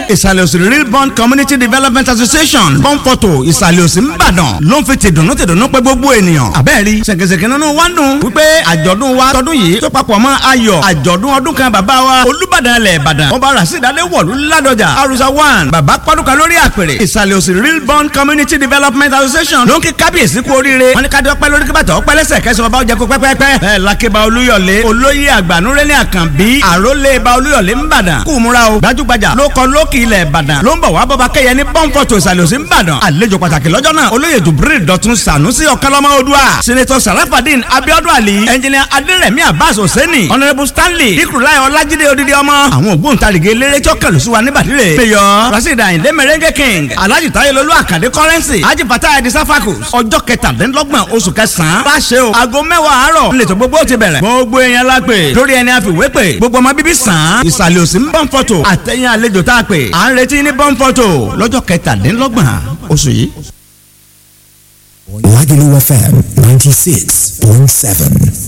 Ìsàlẹ̀ Òsì Real Bond Community Development Association, Bọ́ǹpọ̀tò, Ìsàlẹ̀ Òsì, Ńbàdàn, ló ń fi tìdùnnú tìdùnnú pé gbogbo ènìyàn. Àbẹ́ẹ̀rí ṣèkèṣèkè nínú wa ń dùn wípé àjọ̀dún wa tọdún yìí tó papọ̀ mọ́ ayọ̀ àjọ̀dún ọdún kan bàbá wa, Olúbàdàn ilẹ̀ Ìbàdàn, Ọba Rasheed Adéwọ̀lú Ládọjà Arusa 1. Bàbá pọ́dúkà lórí àpèrè. Ìsàlẹ̀ Òsì Real Bond Community Development Association ló ń kí kábíyèsí kú oríire. Wọ́n ní ká dọ́pẹ́ lórí, kíbàtà ọpẹ́ lẹ́sẹ̀ kẹsàn-án ọba ọjà kó pẹ́pẹ́pẹ́. Bẹ́ẹ̀ lakeba Olúyọ̀lé, olóyè àgbànúrẹ́lẹ̀ Àkànbí, àrólé ba Olúyọ̀lé ńbàdàn, kú múra o. Gbajúgbajà ló kọ lókì ilẹ̀ Ìbàdàn ló ń bọ̀ wá bọ́ba kẹyẹ ní Pọ́ńfọ̀tò, Ìsàlẹ̀ Òsì ńbàdàn. Àlejò pàtàkì lọ́jọ́ náà, olóyè Jubril Dọ̀tun Sànúsì Ọ̀kánlọ́mọ Odua, Senator Sarafadin Abiodun Ali, Engineer Adérẹ̀mí Abbas Hosseini, Honourable Stanley Ikurulai Ọlájídé Odidi ọmọ. Àwọn ògbóǹtarìgì eléré tí ó kẹlù sí wa níbàdí rè: Mayor Rasheed Ayinde Merengue King, Alhaji Tayelolu Akande Currency, Haji Fatah Edi Safakus. Ọjọ́ 27 oṣù kẹsàn-án bá ṣe o, aago 10 àárọ̀ nílẹ̀ gbogbo ti bẹ̀rẹ̀. Gbogbo èèyàn la pè lórí ẹni àfiwé pè, gbogbo ọmọ bíbí sàn án Ìsàlẹ̀ Òsì ń Bọ́ǹfọ̀tò àtẹ̀yìn àlejò tá a pè, à ń retí ní Bọ́ǹfọ̀tò lọ́jọ́ 27 oṣù yìí. Lagelu FM 96.7.